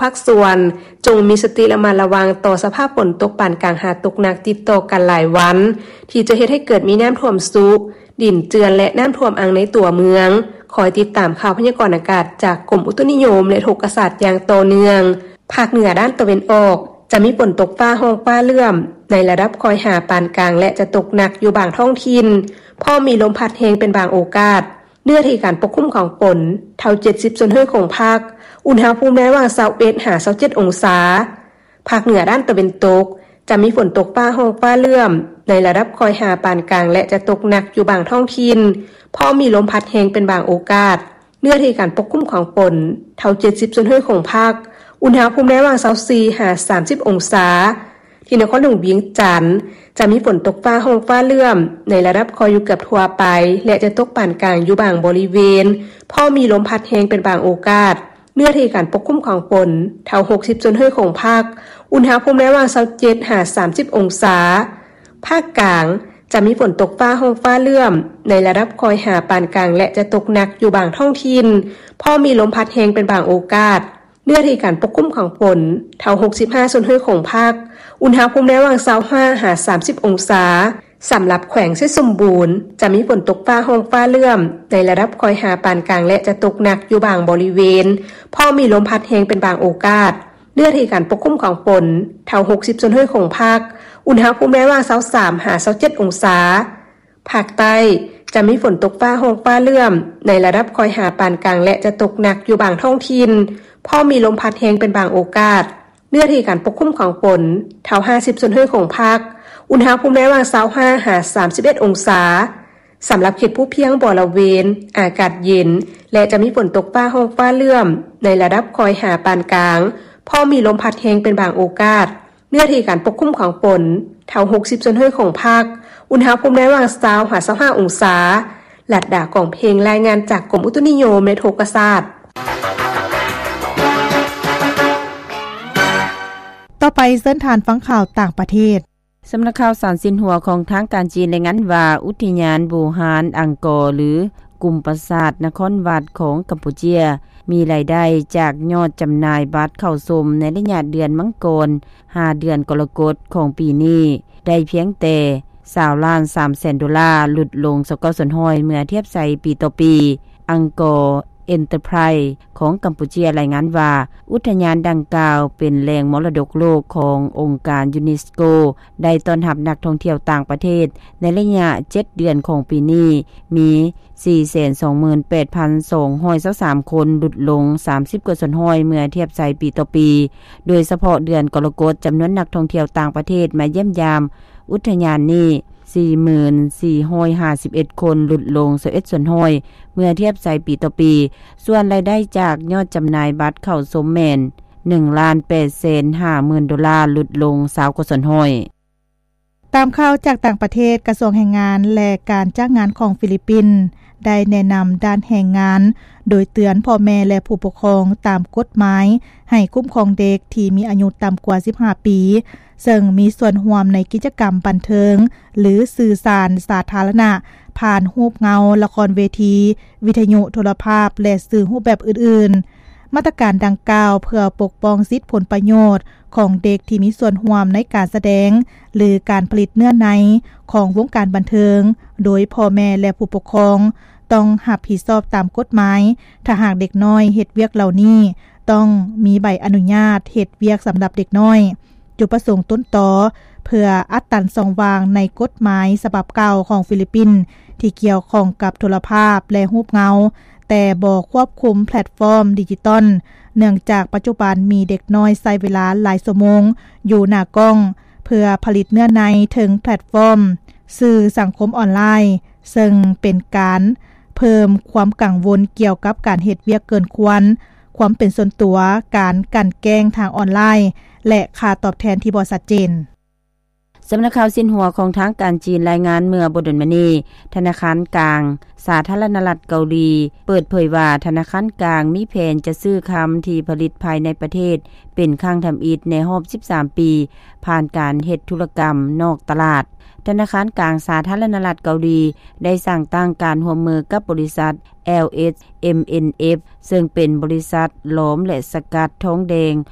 ພາກສ່ວນ ຈົ່ງມີສະຕິລະມັດລະວັງຕໍ່ສະພາບຝົນຕົກປານກາງຫາຕົກໜັກຕິດຕໍ່ກັນຫຼາຍວັນ ທີ່ຈະເຮັດໃຫ້ເກີດມີນ້ຳຖ້ວມຊຸ, ດິນເຈື່ອນ ແລະ ນ້ຳຖ້ວມອັ່ງໃນຕົວເມືອງ. ຄອຍຕິດຕາມຂ່າວພະຍາກອນອາກາດຈາກກົມອຸຕຸນິຍົມ ແລະ ອຸທົກກະສາດຢ່າງຕໍ່ເນື່ອງ. ພາກເໜືອດ້ານຕາເວັນອອກ ຈະມີຝົນຕົກຟ້າຮ້ອງຟ້າເຫຼື້ອມໃນລະດັບຄ່ອຍຫາປານກາງ ແລະ ຈະຕົກໜັກຢູ່ບາງທ້ອງຖິ່ນ, ພ້ອມມີລົມພັດແຮງເປັນບາງໂອກາດ. ເນື້ອທີ່ການປົກຄຸມຂອງຝົນ ເທົ່າເຈັດສິບສ່ວນຮ້ອຍຂອງພາກ, ອຸນຫະພູມໃນລະຫວ່າງຊາວເອັດຫາຊາວເຈັດອົງສາ. ພາກເໜືອດ້ານຕາເວັນຕົກ ຈະມີຝົນຕົກຟ້າຮ້ອງຟ້າເຫຼື້ອມໃນລະດັບຄ່ອຍຫາປານກາງ ແລະ ຈະຕົກໜັກຢູ່ບາງທ້ອງຖິ່ນ, ພ້ອມມີລົມພັດແຮງເປັນບາງໂອກາດ. ເນື້ອທີ່ການປົກຄຸມຂອງຝົນ ເທົ່າເຈັດສິບສ່ວນຮ້ອຍຂອງພາກ, ອຸນຫະພູມໃນລະຫວ່າງຊາວສີ່ຫາສາມສິບອົງສາ. ທີ່ນະຄອນຫຼວງວຽງຈັນ ຈະມີຝົນຕົກຟ້າຮ້ອງຟ້າເຫຼື້ອມໃນລະດັບຄ່ອຍຢູ່ເກືອບທົ່ວໄປ ແລະ ຈະຕົກປານກາງຢູ່ບາງບໍລິເວນ, ພ້ອມມີລົມພັດແຮງເປັນບາງໂອກາດ. ເນື້ອທີ່ການປົກຄຸມຂອງຝົນ ເທົ່າຫົກສິບສ່ວນຮ້ອຍຂອງພາກ, ອຸນຫະພູມໃນລະຫວ່າງຊາວເຈັດຫາສາມສິບອົງສາ. ພາກກາງ ຈະມີຝົນຕົກຟ້າຮ້ອງຟ້າເຫຼື້ອມໃນລະດັບຄ່ອຍຫາປານກາງ ແລະ ຈະຕົກໜັກຢູ່ບາງທ້ອງຖິ່ນ, ພ້ອມມີລົມພັດແຮງເປັນບາງໂອກາດ. ເນື້ອທີ່ການປົກຄຸມຂອງຝົນ ເທົ່າຫົກສິບຫ້າສ່ວນຮ້ອຍຂອງພາກ, ອຸນຫະພູມໃນລະຫວ່າງຊາວຫ້າຫາສາມສິບອົງສາ. ສຳລັບແຂວງໄຊສົມບູນ ຈະມີຝົນຕົກຟ້າຮ້ອງຟ້າເຫຼື້ອມໃນລະດັບຄ່ອຍຫາປານກາງ ແລະ ຈະຕົກໜັກຢູ່ບາງບໍລິເວນ, ພ້ອມມີລົມພັດແຮງເປັນບາງໂອກາດ. ເນື້ອທີ່ການປົກຄຸມຂອງຝົນ ເທົ່າຫົກສິບສ່ວນຮ້ອຍຂອງພາກ, ອຸນຫະພູມໃນລະຫວ່າງຊາວສາມຫາຊາວເຈັດອົງສາ. ພາກໃຕ້ ຈະມີຝົນຕົກຟ້າຮ້ອງຟ້າເຫຼື້ອມໃນລະດັບຄ່ອຍຫາປານກາງ ແລະ ຈະຕົກໜັກຢູ່ບາງທ້ອງຖິ່ນ, ພ້ອມມີລົມພັດແຮງເປັນບາງໂອກາດ. ເນື້ອທີ່ການປົກຄຸມຂອງຝົນ ເທົ່າຫ້າສິບສ່ວນຮ້ອຍຂອງພາກ, ອຸນຫະພູມໃນລະຫວ່າງຊາວຫ້າຫາສາມສິບເອັດອົງສາ. ສຳລັບເຂດພູພຽງບໍລະເວນ ອາກາດເຢັນ ແລະ ຈະມີຝົນຕົກຟ້າຮ້ອງຟ້າເຫຼື້ອມໃນລະດັບຄ່ອຍຫາປານກາງ, ພ້ອມມີລົມພັດແຮງເປັນບາງໂອກາດ. ເນື້ອທີ່ການປົກຄຸມຂອງຝົນ ເທົ່າຫົກສິບສ່ວນຮ້ອຍຂອງພາກ, ອຸນຫະພູມໃນລະຫວ່າງຊາວຫາຊາວຫ້າອົງສາ. ລັດດາ ກອງເພັງ ລາຍງານຈາກກົມອຸຕຸນິຍົມ ແລະ ອຸທົກກະສາດ. ຕໍ່ໄປເຊີນທ່ານຟັງຂ່າວຕ່າງປະເທດ. ສຳນັກຂ່າວສານຊິນຫົວຂອງທາງການຈີນລາຍງານວ່າ ອຸດທະຍານບູຮານອັງກໍ ຫຼື ກຸ່ມປາສາດນະຄອນວັດຂອງກຳປູເຈຍ ມີລາຍໄດ້ຈາກຍອດຈຳໜ່າຍບັດເຂົ້າຊົມໃນໄລຍະເດືອນມັງກອນ ຫາເດືອນກໍລະກົດຂອງປີນີ້ ໄດ້ພຽງແຕ່ຊາວລ້ານສາມແສນໂດລາ, ຫຼຸດລົງຊາວເກົ້າສ່ວນຮ້ອຍເມື່ອທຽບໃສ່ປີຕໍ່ປີ. ອັງກໍ ເອັນເຕີໄພຣ ຂອງກຳປູເຈຍລາຍງານວ່າ ອຸດທະຍານດັ່ງກ່າວເປັນແຫຼ່ງມໍລະດົກໂລກຂອງອົງການຢູເນສໂກ ໄດ້ຕ້ອນຮັບນັກທ່ອງທ່ຽວຕ່າງປະເທດໃນໄລຍະເຈັດເດືອນຂອງປີນີ້ ມີສີ່ແສນສອງໝື່ນແປດພັນສອງຮ້ອຍຊາວສາມຄົນ, ຫຼຸດລົງສາມສິບກວ່າສ່ວນຮ້ອຍເມື່ອທຽບໃສ່ປີຕໍ່ປີ. ໂດຍສະເພາະເດືອນກໍລະກົດ, ຈຳນວນນັກທ່ອງທ່ຽວຕ່າງປະເທດມາຢ້ຽມຢາມອຸດທະຍານນີ້ ສີ່ໝື່ນສີ່ຮ້ອຍຫ້າສິບເອັດຄົນ, ຫຼຸດລົງຊາວເອັດສ່ວນຮ້ອຍເມື່ອທຽບໃສ່ປີຕໍ່ປີ. ສ່ວນລາຍໄດ້ຈາກຍອດຈຳໜ່າຍບັດເຂົ້າຊົມແມ່ນ ໜຶ່ງລ້ານແປດແສນຫ້າໝື່ນໂດລາ, ຫຼຸດລົງຊາວກວ່າສ່ວນຮ້ອຍ. ຕາມຂ່າວຈາກຕ່າງປະເທດ, ກະຊວງແຮງງານ ແລະ ການຈ້າງງານຂອງຟີລິບປິນ ໄດ້ແນະນຳດ້ານແຮງງານ ໂດຍເຕືອນພໍ່ແມ່ ແລະ ຜູ້ປົກຄອງຕາມກົດໝາຍ ໃຫ້ຄຸ້ມຄອງເດັກທີ່ມີອາຍຸຕ່ຳກວ່າສິບຫ້າປີ ເຊິ່ງມີສ່ວນຮ່ວມໃນກິດຈະກຳບັນເທີງ ຫຼື ສື່ສານສາທາລະນະ ຜ່ານຮູບເງົາ, ລະຄອນເວທີ, ວິທະຍຸໂທລະພາບ ແລະ ສື່ຮູບແບບອື່ນໆ. ມາດຕະການດັ່ງກ່າວເພື່ອປົກປ້ອງສິດຜົນປະໂຫຍດຂອງເດັກທີ່ມີສ່ວນຮ່ວມໃນການສະແດງ ຫຼື ການຜະລິດເນື້ອໃນຂອງວົງການບັນເທີງ, ໂດຍພໍ່ແມ່ ແລະ ຜູ້ປົກຄອງຕ້ອງຮັບຜິດຊອບຕາມກົດໝາຍ. ຖ້າຫາກເດັກນ້ອຍເຮັດວຽກເຫຼົ່ານີ້, ຕ້ອງມີໃບອະນຸຍາດເຮັດວຽກສຳລັບເດັກນ້ອຍ. ຈຸດປະສົງຕົ້ນຕໍເພື່ອອັດຕັນຊ່ອງວ່າງໃນກົດໝາຍສະບັບເກົ່າຂອງຟີລິບປິນ ທີ່ກ່ຽວຂ້ອງກັບໂທລະພາບ ແລະ ຮູບເງົາ, ແຕ່ບໍ່ຄວບຄຸມແພລດຟອມດິຈິຕອນ, ເນື່ອງຈາກປັດຈຸບັນມີເດັກນ້ອຍໃຊ້ເວລາຫຼາຍຊົ່ວໂມງຢູ່ໜ້າກ້ອງ ເພື່ອຜະລິດເນື້ອໃນເທິງແພລດຟອມສື່ສັງຄົມອອນລາຍ, ເຊິ່ງເປັນການເພີ່ມຄວາມກັງວົນກ່ຽວກັບການເຮັດວຽກເກີນຄວນ, ຄວາມເປັນສ່ວນຕົວ, ການກັ່ນແກ້ງທາງອອນລາຍ ແລະ ຄ່າຕອບແທນທີ່ບໍ່ຊັດເຈນ. ສຳນັກຂ່າວຊິນຫົວຂອງທາງການຈີນລາຍງານເມື່ອບໍ່ດົນມານີ້, ທະນາຄານກາງສາທາລະນະລັດເກົາຫຼີເປີດເຜີຍວ່າ ທະນາຄານກາງມີແຜນຈະຊື້ຄຳທີ່ຜະລິດພາຍໃນປະເທດເປັນຄັ້ງທຳອິດໃນຮອບສິບສາມປີ ຜ່ານການເຮັດທຸລະກຳນອກຕະຫຼາດ. ທະນາຄານກາງສາທາລະນະລັດເກົາຫຼີໄດ້ສ້າງຕັ້ງການຮ່ວມມືກັບບໍລິສັດ ແອລເອັສເອັມເອັນເອັຟ ເຊິ່ງເປັນບໍລິສັດຫຼອມ ແລະ ສະກັດທອງແດງ